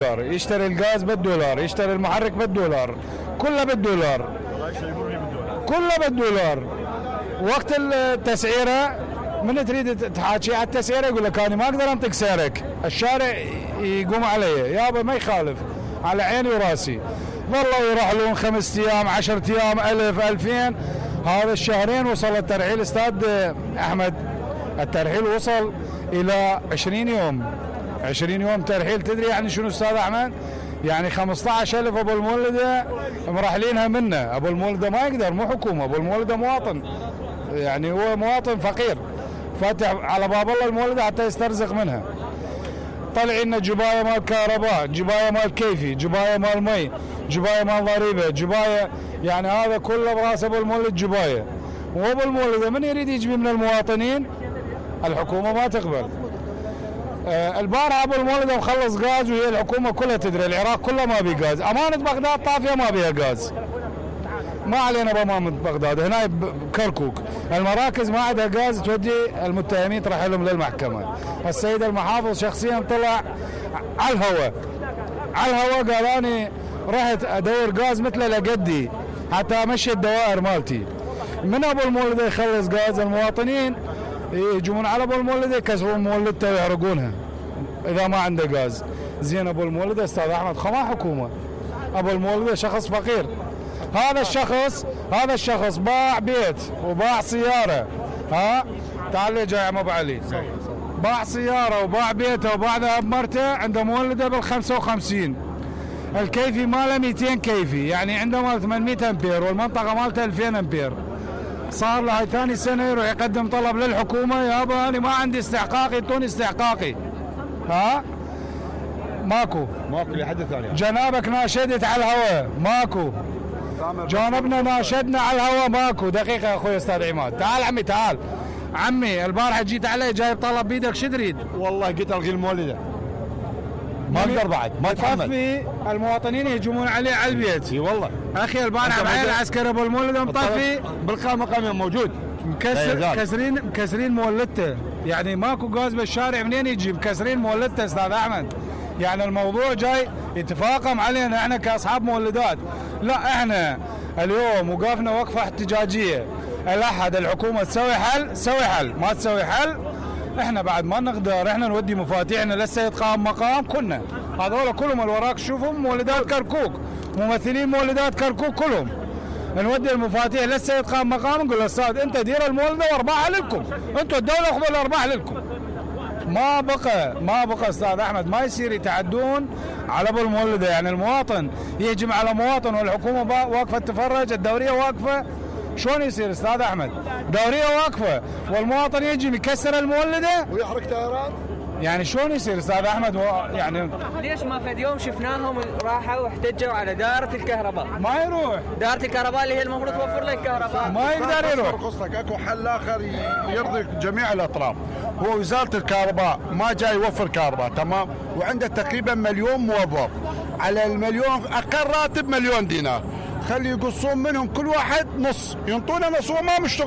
يشتري الغاز بالدولار، يشتري المحرك بالدولار، كله بالدولار، كله بالدولار. وقت التسعيره من تريد تحاكي على التسعيره يقول لك انا ما اقدر انطيك سعرك، الشارع يقوم علي يابا ما يخالف على عيني وراسي. والله يروح لهم 5 ايام 10 ايام 1000 2000. هذا الشهرين وصل الترحيل استاذ احمد، الترحيل وصل الى 20 يوم 20 يوم ترحيل. تدري يعني شنو استاذ احمد؟ يعني 15,000 ابو المولده مرحلينها منه. ابو المولده ما يقدر، مو حكومه، ابو المولده مواطن، يعني هو مواطن فقير فاتح على باب الله المولده حتى يسترزق منها. طلع لنا جبايه مال كهرباء، جبايه مال كيفي، جبايه مال مي، جبايه مال ضريبه، جبايه، يعني هذا كله براس ابو المولد جبايه. وابو المولده من يريد يجبي من المواطنين؟ الحكومه ما تقبل. البارحه ابو المولد مخلص غاز وهي الحكومه كلها تدري، العراق كله ما بي غاز، امانه بغداد طافيه ما بيها غاز. ما علينا بامانه بغداد، هنا بكركوك المراكز ما عندها غاز تودي المتهمين ترحلهم للمحكمه. السيد المحافظ شخصيا طلع على الهواء قال اني رحت ادور غاز مثله لقدي حتى امشي الدوائر مالتي. من ابو المولد يخلص غاز المواطنين يجون على ابو المولد يكسرون مولدته ويحرقونها اذا ما عنده غاز. زين ابو المولد استاذ احمد ما حكومه، ابو المولد شخص فقير. هذا الشخص باع بيت وباع سياره. تعال لي جاي ابو علي، باع سياره وباع بيته وباع ذهب مرته، عنده مولده بال55. الكيفي ماله 200 كيفي، يعني عنده مال 800 امبير والمنطقه مالته 2000 امبير. صار له هاي ثاني سنه يروح يقدم طلب للحكومه، يابا انا ما عندي استحقاقي، اعطوني استحقاقي. ماكو لحد ثاني. جنابك ناشدت على الهواء ماكو، جانبنا ناشدنا على الهواء ماكو. دقيقه يا اخوي استاذ عماد، تعال عمي تعال عمي. البارحه جيت علي جايب طلب بيدك، شو تريد؟ والله قلت الغي المولده ما اقدر بعد، ما اتحمل. المواطنين يهجمون عليه على البيت. اي والله اخي البارحه بعين العسكري ابو المولده مطفي بالقائمه موجود، مكسرين مولدته، يعني ماكو غاز بالشارع، منين يجي؟ مكسرين مولدته استاذ احمد. يعني الموضوع جاي يتفاقم علينا احنا كاصحاب مولدات. لا احنا اليوم وقفنا وقفه احتجاجيه، الاحد الحكومه تسوي حل، ما تسوي حل احنا بعد ما نقدر احنا نودي مفاتيحنا للسيد قائم مقام. كنا هذول كلهم اللي وراك شوفهم مولدات كركوك، ممثلين مولدات كركوك كلهم، نودي المفاتيح للسيد قائم مقام نقول له استاذ انت دير المولده وارباحها لكم، انتم الدوله خذوا الارباح لكم. ما بقى استاذ احمد، ما يصير يتعدون على ابو المولده. يعني المواطن يهجم على مواطن والحكومه واقفه تتفرج، الدوريه واقفه، شلون يصير استاذ احمد؟ دوريه واقفه والمواطن يجي يكسر المولده ويحرق طيارات، يعني شلون يصير استاذ احمد؟ يعني ليش ما فد يوم شفناهم راحوا واحتجوا على دائره الكهرباء؟ ما يروح دائره الكهرباء اللي هي المفروض توفر لك كهرباء، ما يقدر يروح. قصتك اكو حل اخر يرضي جميع الاطراف، هو وزاره الكهرباء ما جاي يوفر كهرباء، تمام، وعنده تقريبا 1,000,000 موظف، على ال1,000,000 اقل راتب 1,000,000 دينار، خلي يقصون منهم كل واحد نص، ينطونه نص، هو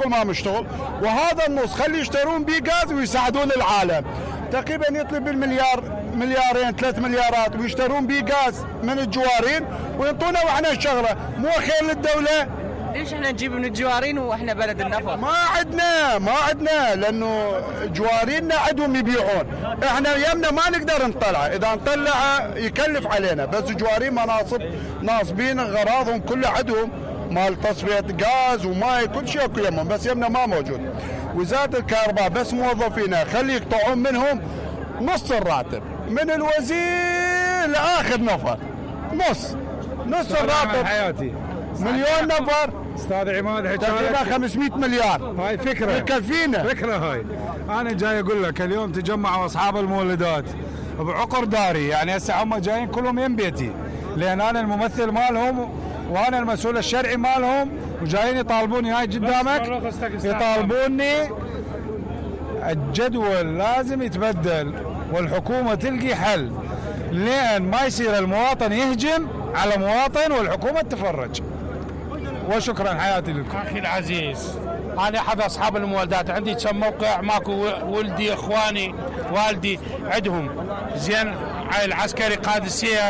ما مشتغل، وهذا النص خلي يشترون بيه غاز ويساعدون العالم. تقريبا يطلب بالمليار، مليارين، 3 مليارات، ويشترون بيه غاز من الجوارين وينطونه واحنا الشغله، مو خير للدوله. ليش احنا نجيب من الجوارين واحنا بلد النفط؟ ما عندنا لانه جوارينا عندهم يبيعون، احنا يمنا ما نقدر نطلع، اذا نطلع يكلف علينا، بس جوارين مناصب ناصبين غراضهم كلها عندهم، مال تصفيه غاز وماي كل شيء اكو يمهم، بس يمنا ما موجود. وزاره الكهرباء بس موظفينها خلي يقطعون منهم نص الراتب، من الوزير لاخر نفر، نص الراتب حياتي 1,000,000 نفر استاذ عماد، تقريبا 500 مليار. هاي فكره يكفينا، فكره هاي. انا جاي اقول لك اليوم تجمعوا اصحاب المولدات بعقر داري، يعني هسه هم جايين كلهم يم بيتي، لان انا الممثل مالهم وانا المسؤول الشرعي مالهم، وجايين يطالبوني هاي قدامك، يطالبوني الجدول لازم يتبدل والحكومه تلقي حل، لان ما يصير المواطن يهجم على مواطن والحكومه تفرج. وشكرا حياتي لكم. اخي العزيز، انا احد اصحاب المولدات، عندي كم موقع، ماكو ولدي اخواني والدي عندهم، زين، العسكري قادسيه